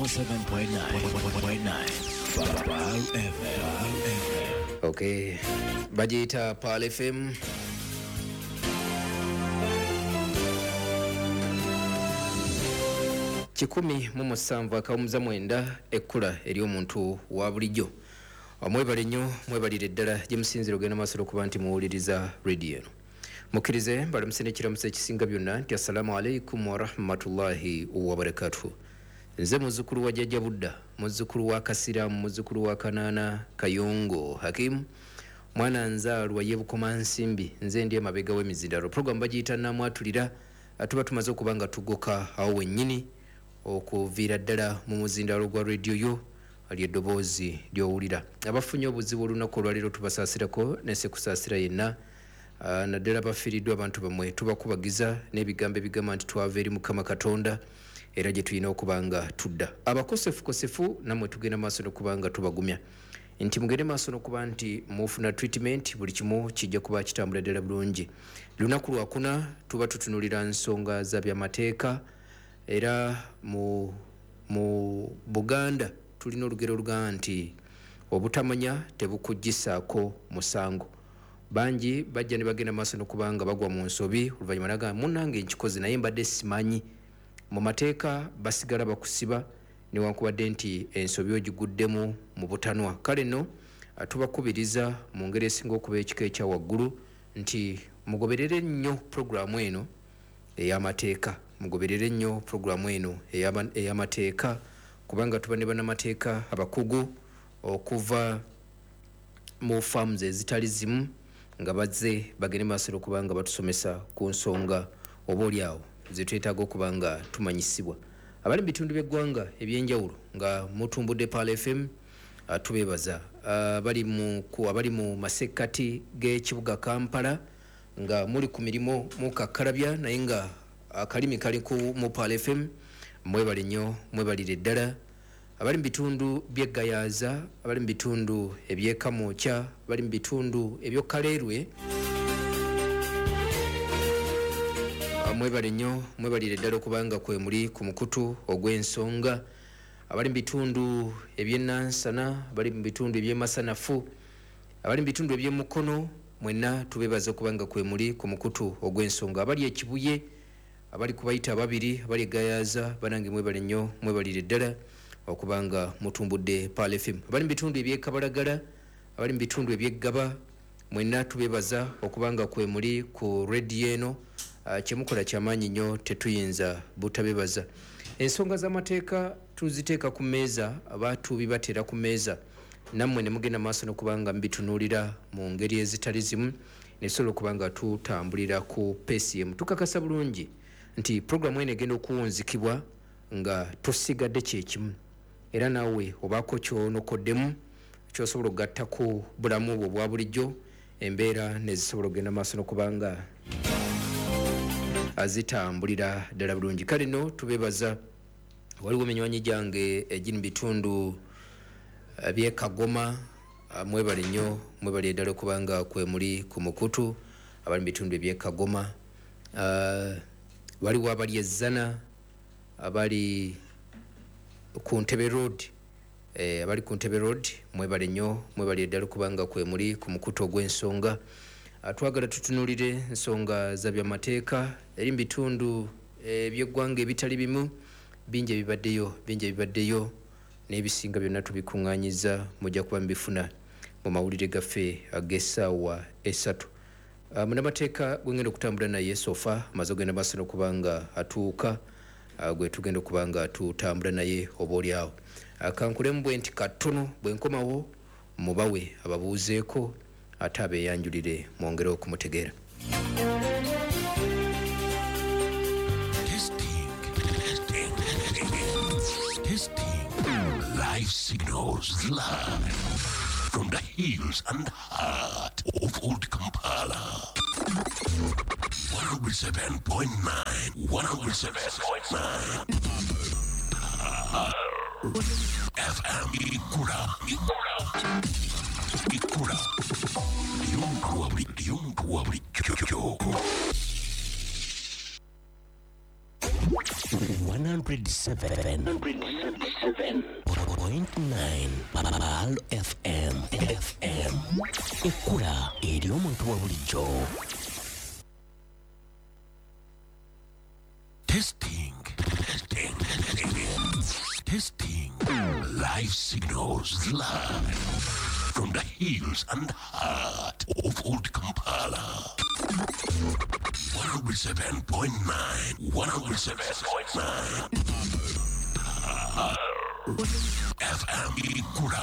107.9 Pearl FM. Okay, bagiyita Pearl FM. 107.9 ekkula ery'omuntu wa bulijjo. Mwebale nnyo, mwebalire ddala gye musinzira ogenda maaso okuba nti muwuliriza rediyo eno. Mukkirize mbalamuse n'ekiramuso ekisinga byonna nti assalamu alaikum warahmatullahi wabarakatuhu. Nze muzzukulu wa Jjajja Budda, muzzukulu wa Kasiraamu, muzzukulu wa Kanaana Kayongo Hakimu, mwana nzaalwa ye Bukomansimbi, nze ndi emabega w'emizindalo. Puroguramu bagiyita Namwatulira. Tuba tumaze okuba nga tugoka awo wennyini okuviira ddala mu muzindalo gwa rediyo yo ly'eddoboozi ly'owulira. Abafunye obuzibu olunaku olwaleero tubasaasirako nesekusaasira yenna, naddala bafiiriddwa abantu bammwe, tubakubagiza n'ebigambo ebigamba nti twava eri Mukama Katonda era gye tulina okuba nga tudda. Abakosefukosefu nammwe tugenda maaso n'okuba nga tubagumya nti mugende maaso n'okuba nti mufuna treatment, buli kimu kijja kuba kitambula ddala bulungi. Lunaku lwakuna tuba tutunulira nsonga za byamateeka, era mu Buganda tulina olugero olugamba nti obutamanya tebukuggisaako musango. Bangi bajja ne bagenda maaso n'okuba nga bagwa mu nsobi, oluvannyuma nagamba munnange nkikoze naye mbadde simanyi. Mu mateeka basigala bakusiba newankubadde nti ensobi ogiguddemu mu butanwa. Kale nno tubakubiriza mu ngeri esinga okuba ekika ekya waggulu nti mugoberere nnyo puroguramu eno ey'amateeka, mugoberere nnyo puroguramu eno ey'amateeka, kubanga tuba ne bannamateeka abakugu okuva mu farms ezitali zimu nga bazze bagende maaso okuba nga batusomesa ku nsonga oba oli awo ze twetaaga okuba nga tumanyisibwa. Abali mu bitundu by'eggwanga ebyenjawulo nga mutumbudde Pearl FM, tubeebaza. Abali mu masekkati g'ekibuga Kampala nga muli ku mirimu mukakkalabya naye nga akalimi kali mu Pearl FM, mwebale nnyo, mwebalire ddala. Abali mu bitundu by'Eggayaaza, abali mu bitundu eby'Ekamwokya, abali mu bitundu eby'Okaleerwe, mwebale nnyo, mwebalire ddala okubanga kwe muli ku mukutu ogw'ensonga. Abali mu bitundu eby'Enansana, abali mu bitundu eby'Emasanafu, abali mu bitundu eby'Emukono, mwenna tubeebaza okubanga kwe muli ku mukutu ogw'ensonga. Abali Ekibuye, abali kubayita ababiri, abali Eggayaaza, banange mwebale nnyo, mwebalire ddala okubanga mutumbudde Pearl FM. Abali mu bitundu eby'Ekabalagala, abali mu bitundu eby'Eggaba, mwenna tubeebaza okubanga kwe muli ku rediyo eno. Kyemukola kyamaanyi nnyo, tetuyinza butabebaza. Ensonga z'amateeka tuziteeka ku mmeeza, abatubibateera ku mmeeza, nammwe ne mugenda maaso n'okubanga mubitunuulira mu ngeri ezitali zimu, ne tusobola okuba nga tutambulira ku peesi emu. Tukakasa bulungi nti puroguramu eno egenda okuwunzikibwa nga tosigadde kyekimu, era naawe obaako kyonokoddemu kyosobola okugatta ku bulamu bwo obwa bulijjo, embeera nezisobola okugenda maaso n'okuba nga azitambulira ddala bulungi. Kale nno tubeebaza. Waliwo eminywanyi gyange egiri mu bitundu by'Ekagoma, mwebale nnyo, mwebale ddala okubanga kwe muli ku mukutu. Abali mu bitundu eby'Ekagoma, waliwo abali Ezzana, abali ku Ntebe Road, abali ku Ntebe Road, mwebale nnyo, mwebale ddala okubanga kwe muli ku mukutu ogw'ensonga. Twagala tutunuulire nsonga za byamateeka eri mu bitundu eby'eggwanga ebitali bimu, bingi ebibaddeyo, bingi ebibaddeyo n'ebisinga byonna tubikuŋŋaanyiza, mujja kuba mubifuna mu mawulire gaffe ag'essaawa 3. Munnamateeka gwe ngenda okutambula naye sofa amaze ogenda maaso n'okuba nga atuuka, gwe tugenda okuba nga tutambula naye oba oli awo. Kankulemu bwe nti katono bwe nkomawo mubawe ababuuzeeko ate abeeyanjulire mwongere okumutegeera. Testing, testing, testing. Live signals live from the hills and heart of Old Kampala. 107.9, 107.9. FM Ikura, Ikura, Ikura. Y'omuntu wa bulijjo. 107.9 Pearl FM FM ekkula eri omuntu wa bulijjo. Testing, testing, testing. Live signals live from the hills and heart of Old Kampala. 107.9, 107.9 FM Ikura.